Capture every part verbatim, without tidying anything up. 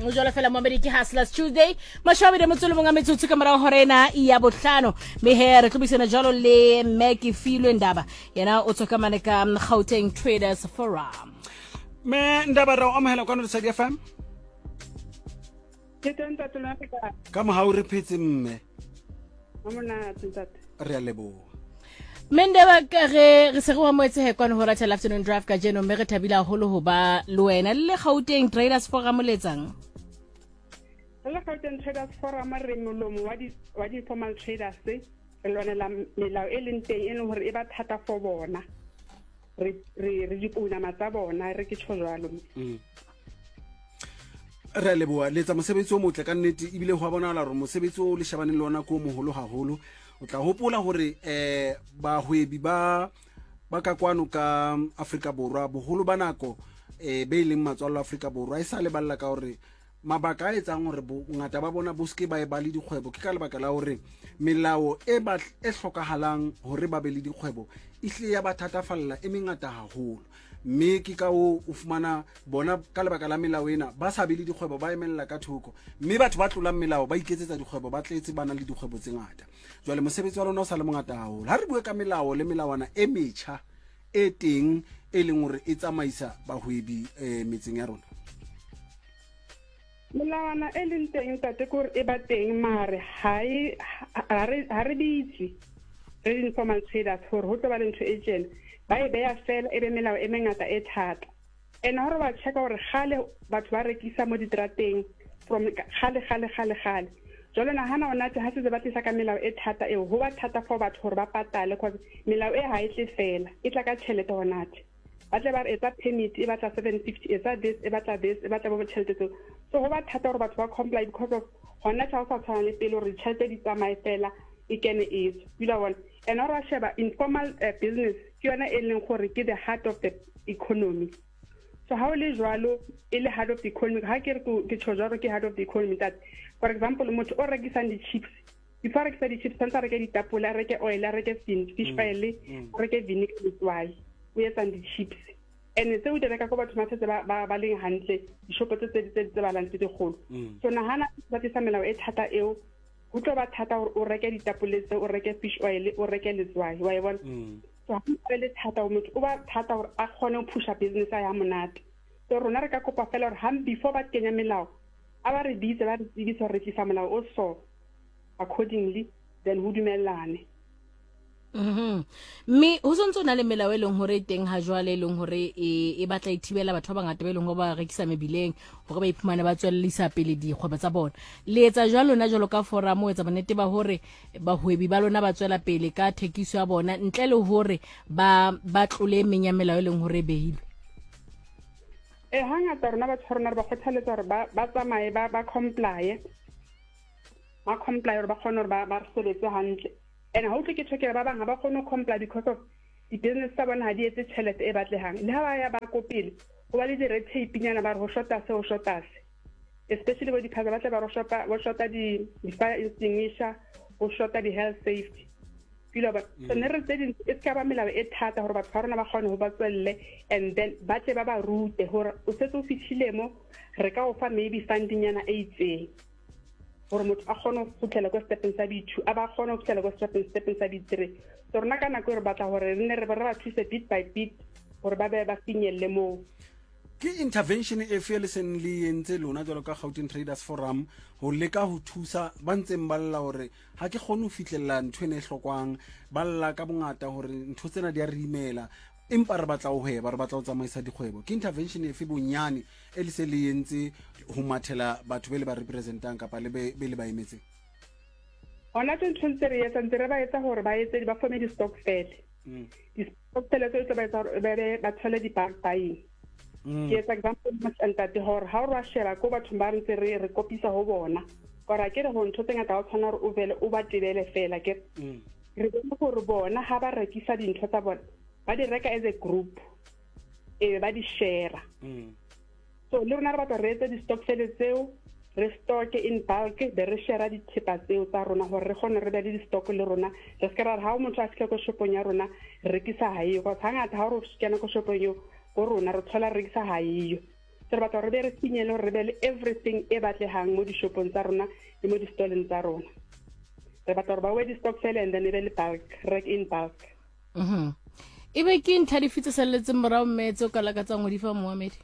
O jwalo fela momedi ke Hustlers Tuesday, mashome a motso le mongwe a metsotso ka morago hora ena ya bohlano. Mme he re tlo buisana jalo le mme Kefilwe Ndaba, yena o tswa ka mane ka Gauteng Traders Forum. Me Ndaba, re o amohela kwano Lesedi F M. Ke teng, ntate, lona le kae? Ka mohau re phetse, mme. Ha monate, ntate. Re a leboha. Mme Ndaba, ka re re se re o amohetse he kwano ho Ratha Afternoon Drive kajeno, mme re thabile haholo ho ba le wena le le Gauteng Traders Forum letsang. Re le Gauteng Traders Forum re molomo wa di wa di-informal traders. Re lwanela melao e leng teng, e leng hore e ba thata for bona. Re re re dipounama tsa bona, re ke tjho jwalo. Re a leboha. Le etsa mosebetsi o motle ka nnete, ebile ho a bonahala hore mosebetsi o le shebaneng le ona ke o moholo haholo. O tla hopola hore um bahwebi ba ba ka kwano ka Afrika Borwa, boholo ba nako um be e leng matswallo Afrika Borwa, e sa leballa ka hore mabaka a etsang hore bongata ba bona bo seke ba e ba le dikgwebo ke ka lebaka la hore melao e ba e hlokahalang hore ba be le dikgwebo e hlile ya ba thatafalla, e mengata haholo. Mme ke ka o o fumana bona ka lebaka la melao ena ba sa be le dikgwebo, ba emella ka thoko, mme batho ba tlolang melao ba iketsetsa dikgwebo, ba tletse, ba na le dikgwebo tse ngata. Jwale mosebetsi wa lona o sa le mongata haholo. Ha re bue ka melao le melawana e metjha e teng e leng hore e tsamaisa bahwebi um metseng ya rona. Melawana e leng teng, ntate, ke hore e ba teng, mare ha e ha re ha re bitse re di-informal traders hore ho tlo ba le ntho e tjena. Ba e beya fela, e be melao e mengata e thata. And hore ba checka hore kgale batho ba rekisa mo diterateng from kgale kgale kgale kgale. Jwale nahana hona tje ha setse ba tlisa ka melao e thata eo, ho ba thata for batho hore ba patale, cause melao e ha e tle fela, e tla ka tjhelete. Hona tje ba tle ba re etsa permit e batla seven fifty, etsa this, e batla this, e batla bo tjhelete tseo. So ho ba thata hore batho ba comply because of hona tje ha o sa tshwana le pele hore ditjhelete di tsamaye fela, e kene e tswe, o ile wa bona. And ha re wa sheba informal uh, business ke yona e leng gore ke the heart of the economy. So ha o le jwalo, e le heart of the economy, ha ke re ke tjho jwalo, ke heart of the economy, ntate. For example, motho o rekisang di-chips, before a rekisa di-chips tshwanetse a reke ditapole, a reke oil, a reke fish oil, a reke vinegar, letswai, o etsang di-chips. And tseo di reka ko batho ba setse ba ba leng hantle, dishopo tse tse tse tsebalang tse dikgolo. So nahana ba tlisa melao e thata eo, ho tlo ba thata hore o reke ditapole tseo, o reke fish oil, o reke letswai, wa e bona. So ha o le thata ho motho, o ba thata hore a kgone ho pusha business ya monate. So rona re ka kopa fela hore ha before ba kenya melao, a ba re bitse, ba re tsebise hore re tlisa molao o so accordingly, then ho dumellane. Mhm. Mme ho sontso na le melao e leng hore e teng ha jwale, e leng hore e e batla e thibela batho ba bangata ba e leng hore ba rekisa mebileng hore ba iphumane ba tswellisa pele dikgwebo tsa bona. Le etsa jwalo lona jwalo ka forum ho etsa bonnete ba hore bahwebi ba lona ba tswela pele ka thekiso ya bona ntle le hore ba ba tlole e meng ya melao e leng hore e behilwe? E hangata rona batho ba rona re ba kgothaletsa hore ba ba tsamaye, ba ba comply, ba comply hore ba kgone hore ba ba re sebetse hantle. And ha utlwe ke tjho, ba bang ha ba kgone ho comply because of di-business tsa bona ha di etse tjhelete e batlehang. Le ha ba ya ba ko pele, ho ba le di-red tape nyana, ba re ho shota se, ho shota se, especially bo di-phasa, ba tle ba re ho shota ho shota di-fire extinguisher, ho shota di-health safety pilo ba. So ne re tse ding e ska ba melao e thata hore batho ba rona ba kgone ho ba tswelle, and then ba tle ba ba rute hore o setse o fihlile mo, re ka o fa maybe funding nyana e itseng gore motho a kgone go fitlhela ko stepeng sa B two, a ba kgone go fitlhela ko stepeng stepeng sa B three. So rona ka nako e re batla gore re nne re re ba thuse bit by bit gore ba be ba finyelle moo. Ke intervention efe le seng le entse lona jwalo ka Gauteng Traders Forum ho leka ho thusa ba ntseng ba lla hore ha ke kgone ho fihlella ntho ena e hlokwang? Ba lla ka bongata hore ntho tsena di a re imela, empa re batla ho hweba, re batla ho tsamaisa dikgwebo. Ke intervention efe bonyane e le se le entse ho mathela batho be le ba representang kapa le be be le ba emetseng? Hona tje ntho ntse re etsa, ntse re ba etsa hore ba etse, ba forme di-stokvel. Di-stokvel tseo tlo ba etsa hore ba be ba thole di-bulk buying. Ke etsa example, ntate, hore ha o re wa sheba ko bathong ba re ntse re re kopisa ho bona, kore a ke re ho ntho tse ngata ha o tshwana hore o vele o ba tebele fela. Ke re bone hore bona ha ba rekisa dintho tsa bona, ba di reka as a group, e be ba di share. So le rona re batla re etse di-stokvel tseo, re stocke in bulk, be re share dithepa tseo tsa rona hore re kgone re be le di-stock le rona. Re se ke ra re ha o motho a fitlha ko shopong ya rona, re rekisa ha eyo, cause hangata ha o re kena ko shopong eo ko rona, re thola re rekisa ha eyo. So So re batla hore re be re finyelle hore re be le everything e batlehang mo dishopong tsa rona le mo di-stalleng tsa rona. Re batla hore ba we di-stokvel and then e be le bulk, rek in bulk. Mhm. Ebe ke ntlha dife tse salletseng morao mme tse o ka lakatsang ho di fa moamedi?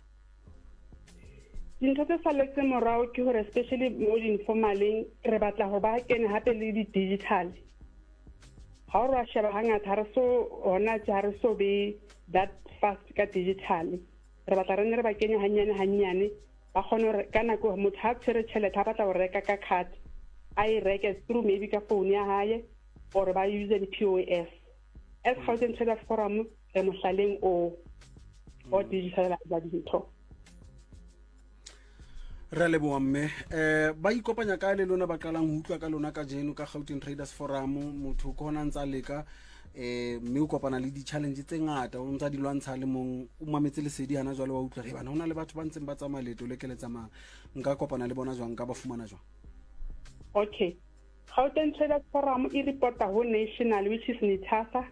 Dintho tse salletseng morao ke hore especially mo di-informaleng re batla hore ba kene hape le di-digital. Ha o re wa sheba hangata ha re so hona tje ha re so be that fast ka digital. Re batla re nne re ba kenye hanyane hanyane ba kgone hore ka nako motho ha tshwere tjhelete ha batla ho reka ka card a e reke through maybe ka phone ya hae or ba use di-P O S. As Gauteng Traders Forum re mohlaleng o o digitalize dintho. Re a leboha mme. um ba ikopanya kae le lona ba qalang ho utlwa ka lona kajeno ka Gauteng Traders Forum? Motho ke hona ntsa leka um mme o kopana le di-challenge tse ngata o ntsa di lwantsha le mong o mametse lesedi hana jwale wa utlwa re bana ho na le batho ba ntseng ba tsamaya leeto le ke le tsamayang, nka kopana le bona jwang, nka ba fumana jwang? Okay, Gauteng Traders Forum e reporta ho national, which is NITASA,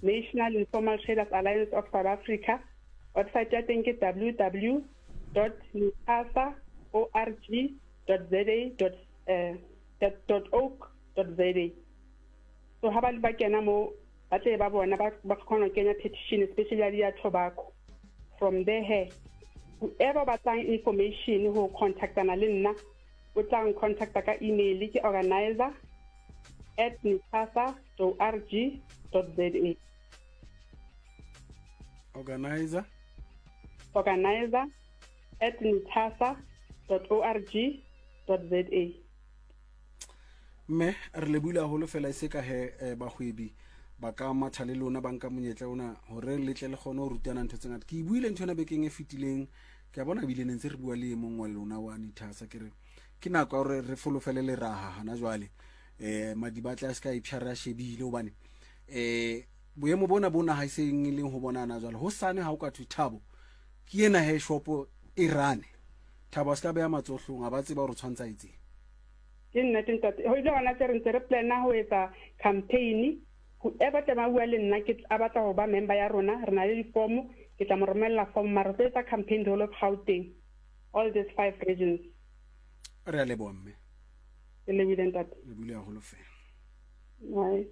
National Informal Traders Alliance of South Africa. Website ya teng ke w w w dot nitasa org dot za dot eh, dot org dot za. So ha ba le ba kena mo ba tle ba bona ba ba kgona ho kenya petition, especially ya ya tobacco. From there he whoever batlang information ho contactana le nna o tla ncontacta ka email, ke organizer at nitasa dot org dot za. Organizer? organizer at nitasa dot org dot za. Mme re lebohile haholo fela e se ka he eh, bahwebi ba ka matha le lona ba nka monyetla ona hore le tle le kgone ho rutana ntho tse ngata. Ke e buile ntho ena bekeng e fetileng, ke a bona ebile ne ntse re bua le e mong wa lona wa Nitasa, ke re ke nako ya hore re folofele leraha hana jwale um madiba a tla se ka ipsha re a shebile hobane um boemo bona bona ha e seng e leng ho bonana jwale hosane ha o ka thwe Thabo ke ena he shopo e rane Thabo a se ka beha matsohlong a ba tseba hore o tshwantsha etseng. Ke nnete ntate, ho ile hona tse re ntse re plana ho etsa campaign. Whoever tla ba bua le nna ke a batla ho ba member ya rona, re na le difomo, ke tla mo romella form, mara re tlo etsa campaign the whole of Gauteng, all these five regions. Re a leboha mme. Ke lebohile ntate. Le buile haholo fela. Bye.